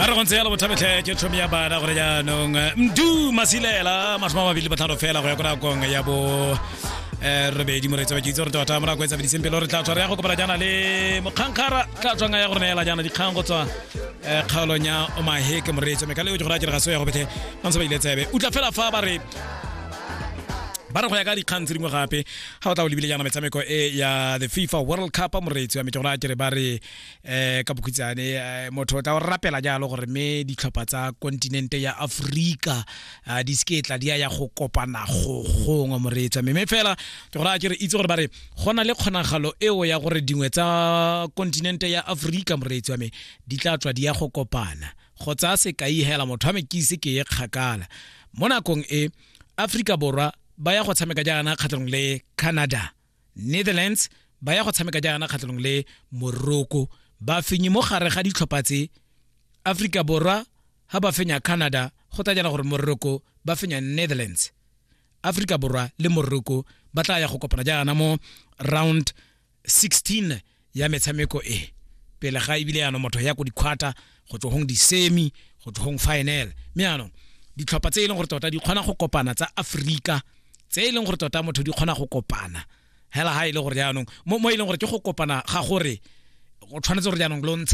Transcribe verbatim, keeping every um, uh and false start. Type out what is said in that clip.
Re go ntse yalo, bothabetlhe, ke tšhomi ya bana gore jaanong Mdu Masilela, masome a mabedi le botlhano fela go ya ko nakong ya bo um robedi. Moreetsi wa, ke itse gore tota mo nako e tsabediseng pele re tla tswa re ya go kopana jaana le mokgankgara, tla tswang ya go re neela jaana dikgang go tswa um kgaolong ya Omaheke. Moreetsi wa me, ka leo ke gore a kere ga se ya go bethe ba ntse ba ile tsebe utlwa fela fa ba re ba re go ya ka dikgang tse dingwe gape. Ga o tla o lebile jaana metshameko e ya the FIFA World Cup, moreetsi wa me, ke gore a kere ba re um ka bokhutshwane eh, motho o tla o rapela jalo gore mme ditlhopha tsa kontinente ya Aforika eh, di seke tla di ya ya go kopana go gongwe, moreetsi wa me. Mme fela ke gore a kere itse gore ba re go na le kgonagalo eo ya gore dingwe tsa kontinente ya Aforika, moreetsi wa me, di tla tswa di ya go kopana. Go tsaya sekai hela, motho wa me, ke ise ke ye kgakala, mo nakong e Aforika Borwa ba ya go tshameka jaana kgatlhanong le Canada, Netherlands ba ya go tshameka jaana kgatlhanong le Morocco. Ba fenye mo gare ga ditlhopha tse, Aforika Borwa ha ba fenya Canada, go tla jaana gore Morocco ba fenya Netherlands. Aforika Borwa le Morocco ba tla ya go kopana jaana mo round sixteen ya metshameko e pele ga ebile yaanong motho ya ko di-quarter, go tswa gong di-semi, go tswa gong final. Mme yaanong ditlhopha tse e leng gore tota di kgona go kopana tsa Aforika, tse e leng gore tota motho di kgona go kopana hela, ha e le gore jaanong mo mo e leng gore ke go kopana ga gore go tshwanetse gore jaanong lo ntsha